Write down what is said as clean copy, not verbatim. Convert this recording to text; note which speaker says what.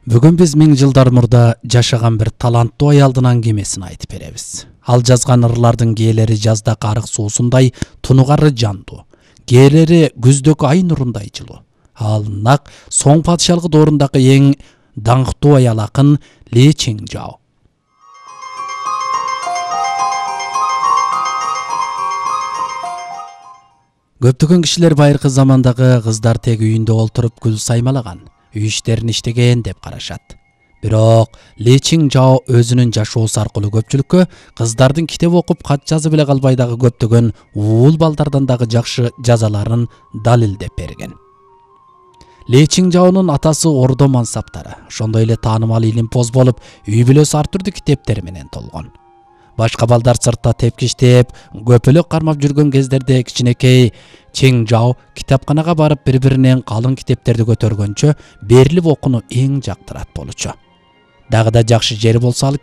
Speaker 1: Бүгүн биз 1000 жылдар мурда жашаган бир таланттуу аялдын аңгемесин айтып беребиз. Ал жазган ырлардын кээлери жаздагы арык суусундай тунугары жандуу, кээлери күздөгү ай нурундай жылуу. Ал нак Соң падышалык доорундагы эң даңктуу аял акын Ли Чиңжао. Көптөгөн кишилер байыркы замандагы кыздар тек үйүндө олтуруп гүл саймалаган, үй иштерин иштеген деп карашат. Бирок Ли Чиңжао өзүнүн жашоосу аркылуу көпчүлүккө кыздардын китеп окуп кат жазып эле калбай дагы көптөгөн уул балдардан дагы жакшы жазаларын далилдеп берген. Ли Чиңжаонун атасы ордо мансаптары, ошондой эле таанымал илимпоз болуп, үй бүлөсү ар түрдүү китептер менен толгон. Башка балдар сыртта тепкиштеп, көпөлөк кармап жүргөн кездерде кичинекей Чиңжао китапканага барып бири-биринен калың китептерди көтөргөнчө берилип окууну эң жактырат болчу. Дагы да жакшы жери болсо ал